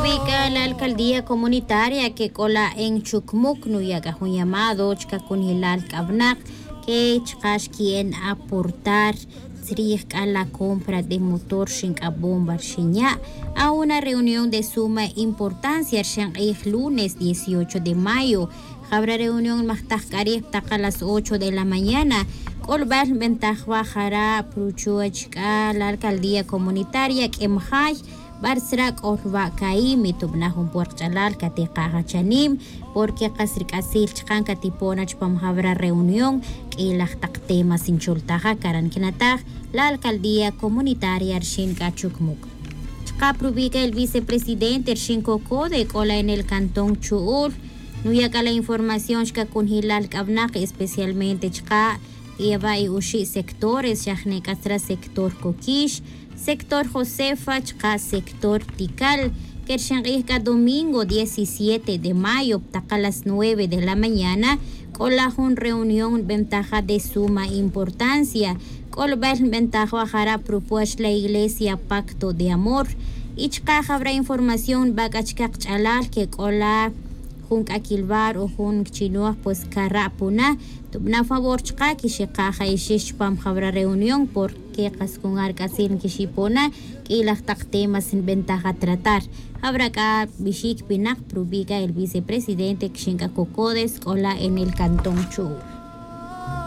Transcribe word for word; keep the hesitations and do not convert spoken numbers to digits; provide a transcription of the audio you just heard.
Wi c'a la alcaldía comunitaria que c'o la en chucmuc nuya' c'a jun llamado chca cunjelal c'avnak que chka' xqui'en aportar tzrij c'a la compra de motor rixin c'a bomba rixin ya'. A una reunión de suma importancia rixin k'ij lunes dieciocho de mayo. Jawra reunión majtaj c'a rij ptaka las ocho de la mañana. C'olbal nbentaj wa jara' pruchuch c'a la alcaldía comunitaria q'uemjay. Bar tzra' c'o rwa' caí mi tubna jun puerk ch'alal catika' jachanim. Porque kas ric'atzil chkan catipo' na chupam jawra reunión. Q'uilaj tak temas nchultaja caran quinataj la alcaldía comunitaria rixin c'a chucmuc. Chka' prubica el vicepresidente rixin cocode c'o la en el cantón chu'ul. Nuya' c'a la información chca cunjelal c'avnak especialmente chka' eva' y uxi' sectores xajne c'a tzra' sector coquix, sector josefa chka' sector tical. Que rixin k'ij c'a domingo diecisiete de mayo ptaka las nueve de la mañana. C'o la jun reunión nbentaj ja de suma importancia. C'olbal nbentaj wa jara' prupuech la iglesia pacto de amor. Y chka' jawra información nba c'a chka kch'alal que c'o la jun c'a quilbar o jun chinoj pues cara' puna. Tubna favor chka' quixika' ja ixix chupam jawra reunión porque kas jun ar c'atzil nquixipona. Q'uilaj tak temas nbentaj ja tratar. Jawra c'a bixic pinak prubica el vicepresidente quixin c'a cocodes c'o la en el cantón chu'ul.